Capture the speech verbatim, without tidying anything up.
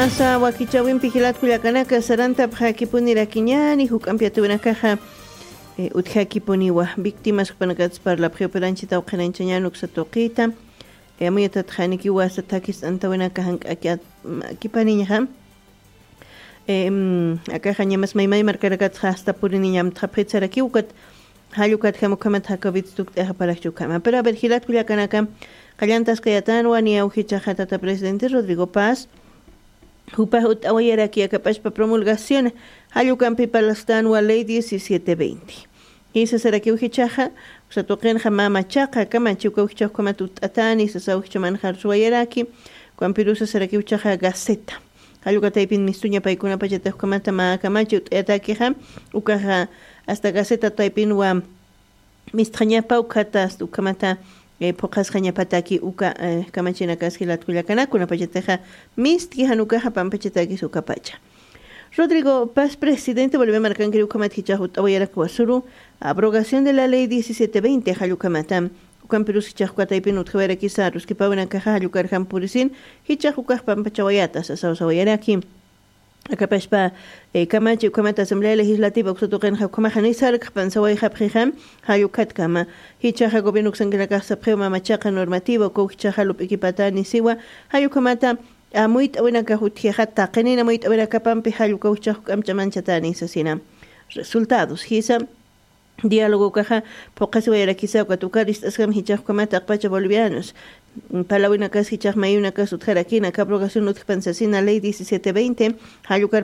Asa wakichawimpi jilat kullakanaka sarantapxakipuni rakiñani juk'ampi atiwinakaxa, eh, utjakipuniwa víctimas jupanakats parlapxi upiranchita uqhinañchañan uksa tuqita. Eh, amuyatatxanikiwa asa takis antawinaka jank'aki at- ma- kipaniñaxa. Em, akaxa ñamas maymay markanakatxa hasta puriniñamtxapxitsarakiw ukat. Jallukatjam ukhamat jakawit tukt'ayaxa parakchi ukhama pero a ver jilat kullakanaka, qallantaskayatanwa niya ujichaxa tata presidente Rodrigo Paz. Jupax ut'awayaraki akap'achpa promulgación jallukampi parlastanwa ley diecisiete veinte. Jisa sarakiw jichaxa, usa tuqinxa mama chaqa kamachi ukaw jichax ukhamat ut'atani sasaw jichamanxar suwayaraki. Ukampirusa sarakiw chaxa gaceta, jallukataypin mistuña paykunapachatix ukhamata mä kamachi ut'ayatakixa. Ukaxa hasta gaceta taypinwa mistxañapa ukhata hasta ukhamata, eh, phuqhasxañapataki uka, eh, kamachinakas jilat kullakanaka kunapachatixa mistki jan ukaxa pampachatakis ukapacha. Rodrigo Paz presidente Bolivia markankiri ukhamat jichax ut'awayarak wasuru abrogación de la ley diecisiete veinte jallukhamata. Ukampirus jichax ukataypin utjawayarakisa ruskipawinakaxa jallukarjam purisin jichax ukax pampachawayata sasawsawayaraki. Akapashpa, eh, kamachi ukhamata asamblea legislativa uksa tuqinxa ukhamaxa nisarkxpan sawayxapxixam. Jallukhatkama jichaxa gobierno uksankinakax sapxiw mamachaqa normativa ukaw jichaxa lup'ikipatani siwa. Jallukhamata amuyt'awinakax utjixa taqinin amuyt'awinakapampi jallukaw jichax juk'amch'amanchatani sasina. Resultados jisa diálogo ukaxa phuqhasiwayarakisa ukat ukar ist'askam jichax ukhamat aqpacha bolivianos. Palawinakas jichax mayunakas utjarakina aka abrogación utjpan sasina ley diecisiete veinte. Jallukar